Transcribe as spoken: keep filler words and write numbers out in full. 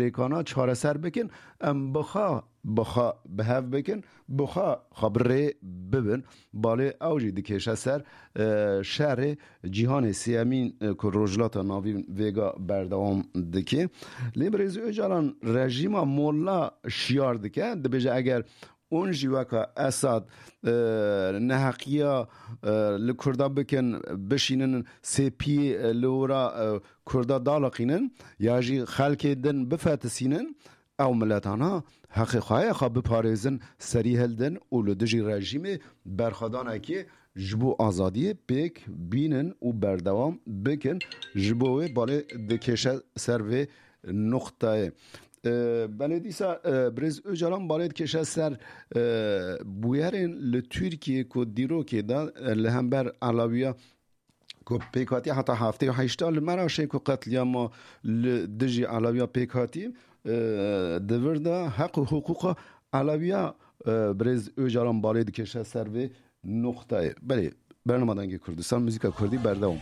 rêkana çareser bikin, em bixa bixa bi hev bikin, bixa xwe bi rê bibin. Balê ew jî dikêşe ser e, şerê cîhanê sêyemîn e, ku Rojhilata Navîn vêga berdewam dike. Lê Birêz Ocalan rejîma molla şiyar dike, dibêje eger hûn jî weka Esad e, neheqiya e, li Kurda bikin, bişînin sêpiyê e, li ora e, Kurda daliqînin ya jî xelkê din bifetisînin, ew miletana heqê xwe ye xwe biparêzin, serî hildin û li dijî rejîmê berxwedanekê ji bo azadiyê pêk bînin û berdewam bikin. Ji bo wê balê dikêşe ser vê nuqtayê. E, belê dîsa e, Birêz Ocalan balê dikêşe ser e, bûyerên li Tirkiyê ku dîrokê de e, li hember Elewiya ku pêk hatiye heta heftê û heşta li Meraşê ku qetliyama li dijî Elewiya pêk hatî e, di vir de heq û hiqûqa Elewiya e, Birêz Ocalan balê dikêşe ser vê nuqtayê. Belê, bernama Dengê Kurdistan, muzîka Kurdî berdewam.